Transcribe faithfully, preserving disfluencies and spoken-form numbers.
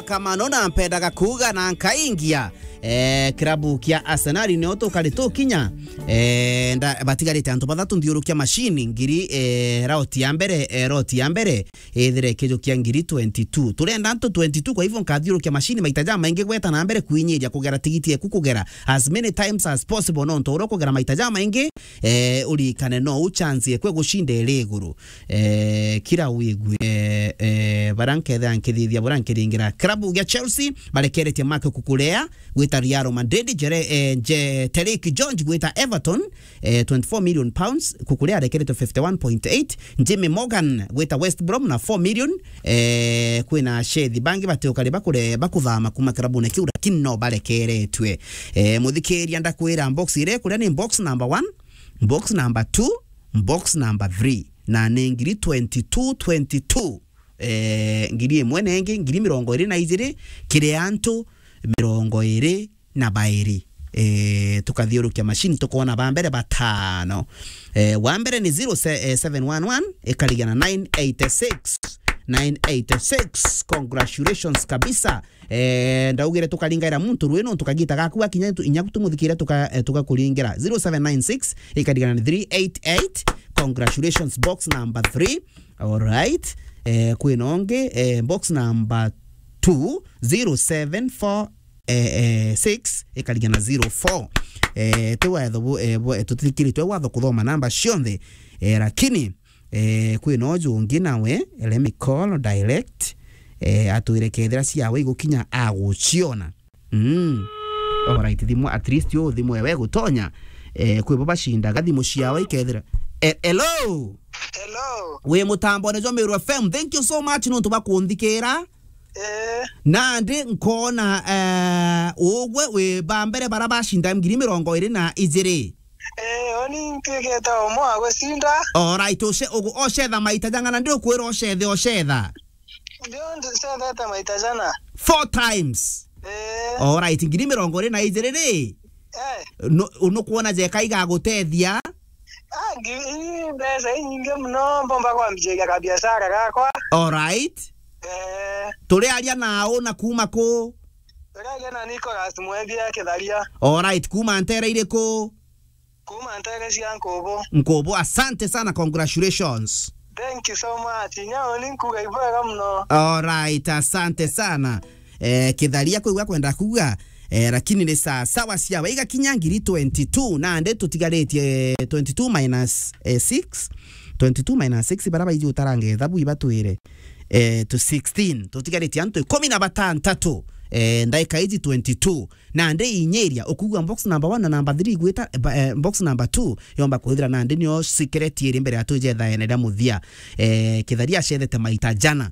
Kamano na mpendaga kuuga na nkaingia, eh, kirabu kia Arsenal nio tukari tukinya, eh, nda-, batigarite antu bathatu nthiurukia machine ngiri, eh, rauti ya mbere, eh, rauti ya mbere, ithire kijukia ngiri twenty-two. Turenda antu twenty-two, kwa hivyo nkathiurukia machine maita jamaingi gweta na mbere kwinyiria kugera tigiti eku kugera as many times as possible, nontu uria ukugera maita jamaingi, eh, urikane no u chance ekwe gucinda iri iguru. Eh, kira wigue, eh, eh, bara nkethira nkithithia bura nkiringira. Klabu gia Chelsea barekeretie Marc Cucurella gwita Real Madrid, Jere-, eh, Je-, Tariq George gwita Everton, eh, twenty-four million pounds, Cucurella arekeretwe fifty-one point eight, Jimmy Morgan gwita West Brom na four million, eh, kwina shethi bangi batiukari bakure-, bakuthama kuma klabune kiu, lakini no barekeretwe. Eh, muthikiria ndakwira box iria ikuria ni box number one, box number two, box number three, na ni ngiri twenty-two, twenty-two, eh, ngiri imwe na ingi, ngiri mirongo iri na ijiri, kiri antu mirongo iri na bairi. Eh, tukathiurukia machine, tukoona ba mbere batano. Eh, wa mbere ni zero se-, eh, seven one one, ikarigana nine eighty-six. Nine eighty-six. Congratulations kabisa. Eh, ndaugire tukaringaira muntu rwi nontu kagita gaku gakinya tu-, inya tumuthikire tuka-, eh, tugakuringira. Zero seven nine six, ikarigana ni three eight eight. Congratulations, box number three. All right. Eh, kwina ungi, eh, box number two, zero seven four, eh, eh, six, ikarigana zero four. Eh, ti watho bu-, eh, bu-, eh, tutithikiritwe watho kuthoma namba cionthe. Eh, lakini, eh, kwina uju ungi nawe, let me call direct, eh, atwire kethira ciawe igukinya aguciona. Mm. Alright, thimu, at least yo thimu ewe gutonya. Eh, kwi bo bacindaga thimu ciao ikethira. Eh, hello? Hello. Wi mutambone jwa Meru F M. Thank you so much nontu bwa kunthikira. Eh. Nandi nkona, eh, ugwe wi ba mbere bara bacinda ngiri mirongo iri na ijiri. Eh, oni ntuikite umwe wa gucinda. Alright, uce-, ugu-, ocetha maita jang'ana ndi ukwira ocethe, ocetha. Ndio, ndi-, cethete maita jana. Four times. Eh. Alright, ngiri mirongo iri na ijiri ri? Eh. Nu-, nukwona jeka igagutethia? Ah, ngi-, ii mbeca inyingi muno, mbomba kwambiria kabiashara gakwa. Alright. Eh. Turiaria na u na kuma ku? Turiaria na Nicholas Mwendia Kitharia. Alright, kuma ntere iriku? Kuma ntere cia Nkubu. Nkubu, asante sana, congratulations. Thank you so much. Nyao ni nkuga ibwega muno. Alright, asante sana. Eh, Kitharia kwigua kwenda kuga, eh, lakini ni saa sawa cia waiga kinya ngiri twenty-two, nandi tutigaritie twenty-two minus, eh, six. Twenty-two minus six, bara baiji utarange ethabu ibatwire, eh, to sixteen. Tutigaritie antu ikumi na batantatu, eh, ndaika iji twenty-two. Nandi inyiria, ukugua box number one na number three igwita, eh, ba-, eh, box number two yomba kwithira nandi nio secret iri mbere ya twijethaene ria muthia. Eh, Kitharia acethete maita jana.